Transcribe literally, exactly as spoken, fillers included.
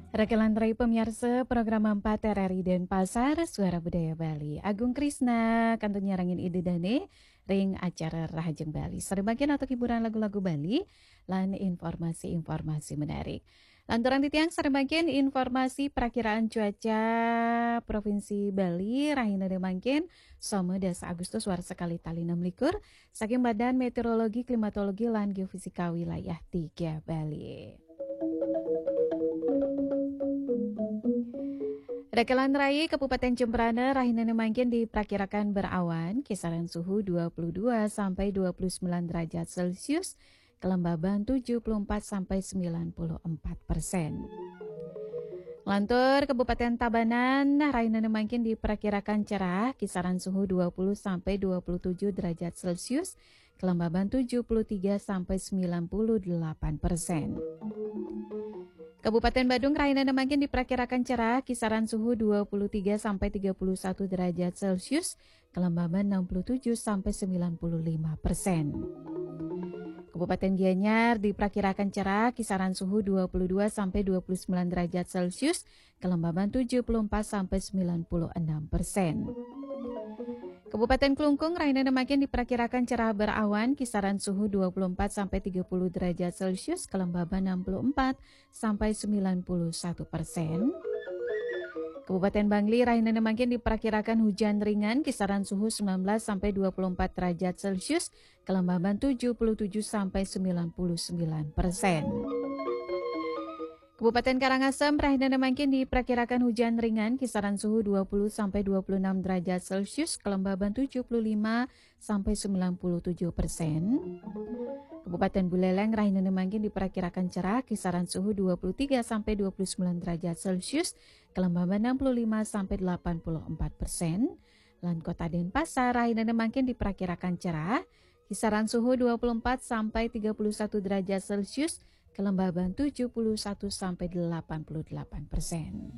Rakelan rai pamiarsa program empat R R I Denpasar, Suara Budaya Bali. Agung Krisna, kantun nyarengin Ida Dane, ring acara Rahajeng Bali. Sareng mangkin antuk hiburan lagu-lagu Bali, lan informasi-informasi menarik. Lanturang titiang sareng mangkin informasi prakiraan cuaca Provinsi Bali, rahina mangkin, Soma dasa Agustus warsa kalih tali enam likur, saking Badan Meteorologi, Klimatologi, lan Geofisika Wilayah tiga Bali. Rakelan rai Kabupaten Jembrana, rahina mangkin diperkirakan berawan, kisaran suhu dua puluh dua sampai dua puluh sembilan derajat Celcius, kelembaban tujuh puluh empat sampai sembilan puluh empat persen. Lantur Kabupaten Tabanan, rahina mangkin diperkirakan cerah, kisaran suhu dua puluh sampai dua puluh tujuh derajat Celcius, kelembaban tujuh puluh tiga sampai sembilan puluh delapan persen. Kabupaten Badung, rahina mangkin diperkirakan cerah, kisaran suhu dua puluh tiga sampai tiga puluh satu derajat Celcius, kelembaban enam puluh tujuh sampai sembilan puluh lima persen. Kabupaten Gianyar diperkirakan cerah, kisaran suhu dua puluh dua sampai dua puluh sembilan derajat Celcius, kelembaban tujuh puluh empat sampai sembilan puluh enam persen. Kabupaten Klungkung, rahina mangkin diperkirakan cerah berawan, kisaran suhu dua puluh empat sampai tiga puluh derajat Celcius, kelembaban enam puluh empat sampai sembilan puluh satu persen. Kabupaten Bangli, rahina mangkin diperkirakan hujan ringan, kisaran suhu sembilan belas sampai dua puluh empat derajat Celcius, kelembaban tujuh puluh tujuh sampai sembilan puluh sembilan persen. Kabupaten Karangasem, rahina mangkin diperkirakan hujan ringan, kisaran suhu dua puluh sampai dua puluh enam derajat Celcius, kelembaban tujuh puluh lima sampai sembilan puluh tujuh persen. Kabupaten Buleleng, rahina mangkin diperkirakan cerah, kisaran suhu dua puluh tiga sampai dua puluh sembilan derajat Celcius, kelembaban enam puluh lima sampai delapan puluh empat persen. Lan Kota Denpasar, rahina mangkin diperkirakan cerah, kisaran suhu dua puluh empat sampai tiga puluh satu derajat Celcius, kelembaban tujuh puluh satu sampai delapan puluh delapan persen.